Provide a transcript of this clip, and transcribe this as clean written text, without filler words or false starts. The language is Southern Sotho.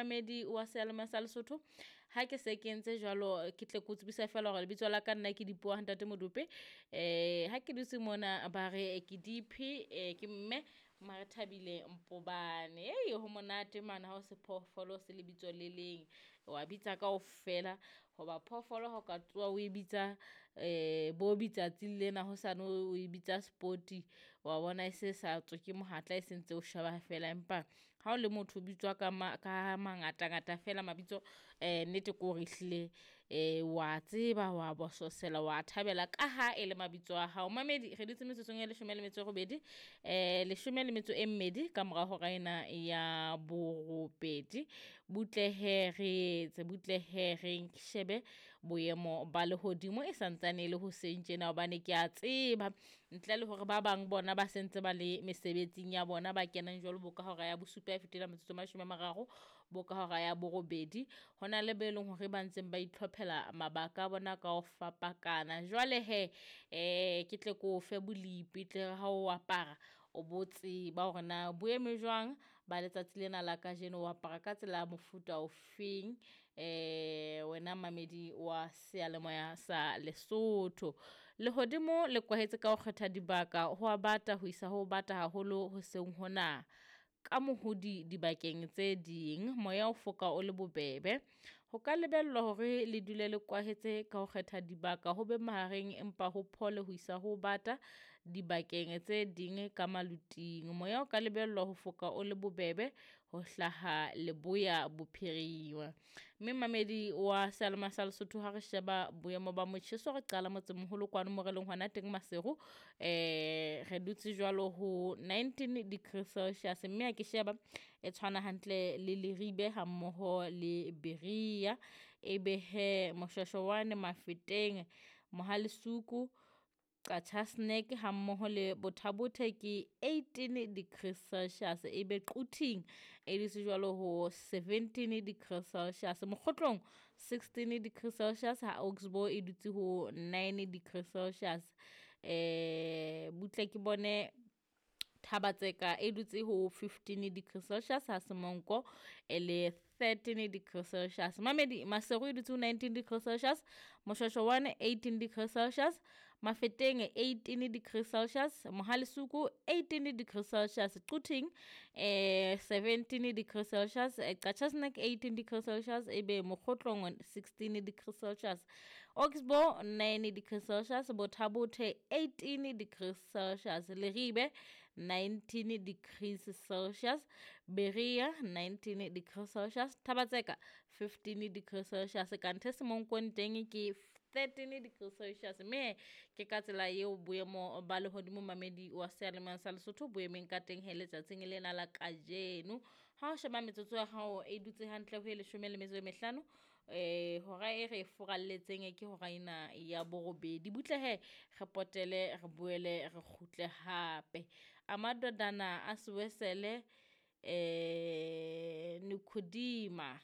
Mamedi wa seyalemoya sa Lesotho, ha ke se ke entse jwalo, ke tle ke o tsebisa fela hore lebitso la ka nna ke Dipuo ha Ntate Modupe. Ha ke dutse mona ba re ke Diphi, ke mme Marethabile Mpobane. Ei, ho monate mane ha o se phoofolo se lebitso le leng, wa bitsa kaofela hoba phoofolo ha o ka tsoha o e bitsa bo bitsatsi lena, hosane o e bitsa spoti, wa bona e se sa tswe ke mohatla, e sentse o sheba fela. Empa ha o le motho o bitswa ka ka mangatangata fela mabitso, nnete ke hore ehlile wa tseba, wa bososela, wa thabela ka ha e le mabitso a hao. Mamedi, re dutse metsotsong e 18, 12 ka mora hora ena ya borobedi. Butle hee re etse, butle hee re shebe boemo ba lehodimo e santsane e le hoseng tjena, hobane ke a tseba ntle le hore ba bang bona ba sentse ba le mesebetsing ya bona, ba kenang jwalo bo ka hora ya bosupa e fetela metsotso e 30, bo ka hora ya borobedi, ho na le be leng hore ba ntseng ba itlhophela mabaka a bona ka ho fapakana. Jwale he, ke tle ke o fe bolepi, tle re ha o apara o bo tseba hore na bo eme jwang ba letsatsi lena la kajeno, o apara ka tsela ya mofuta o feng, wena mamedi wa seyalemoya sa Lesotho. Lehodimo le kwahetse ka ho kgetha dibaka, ho a bata ho isa ho bata haholo hoseng hona, ka mohodi dibakeng tse ding, moya o foka o le bobebe. Ho ka lebellwa hore le dule le kwahetse ka ho kgetha dibaka, ho be mahareng empa ho phole ho isa ho bata dibakeng tse ding ka maluting. Moya o ka lebellwa ho foka o le bobebe ho hlaha leboya bophirima. Mme mamedi wa seyalemoya sa Lesotho, ha re sheba boemo ba motjheso, re qala motsemoholo kwano mo re leng hona teng Maseru, re dutse jwalo ho 19 degrees Celsius, mme ha ke sheba e tshwana hantle le Leribe ha mmoho le Berea. Ebe he Moshweshwe Mafeteng, Mohalesuku, Qacha's Nek ha mmoho le Botha-Bothe ke 18 degrees Celsius, ebe Quthing e dutse jwalo ho 17 degrees Celsius, Mokgotlong 16 degrees Celsius, ha Oxbow e dutse ho 9 degrees Celsius. Butle ke bone Thaba-Tseka e dutse ho 15 degrees Celsius, ha Semonko e le 13 degrees Celsius. Mamedi, Maseru e dutse ho 19 degrees Celsius, Moshweshwe 1 18 degrees Celsius, Mafeteng 18 degrees Celsius, Mohalesuku 18 degrees Celsius, Quthing 17 degrees Celsius, Qacha's Nek 18 degrees Celsius, ebe Mokgotlong 16 degrees Celsius, Oxbow 9 degrees Celsius, Botha-Bothe 18 degrees Celsius, Leribe 19 degrees Celsius, Berea 19 degrees Celsius, Thaba-Tseka 15 degrees Celsius, kanthe Semonkong teng ke 13 degrees Celsius. Mme ke ka tsela eo boemo ba lehodimo mamedi wa seyalemoya sa Lesotho bo emeng ka teng he letsatsing lena la kajeno. Ha o sheba metsotso ya hao e dutse hantle ho e 15, hora e re e furalletseng ke hora ena ya borobedi. Butle he re potele, re boele re kgutle hape. Amadodana a Siwesele, Nikodima.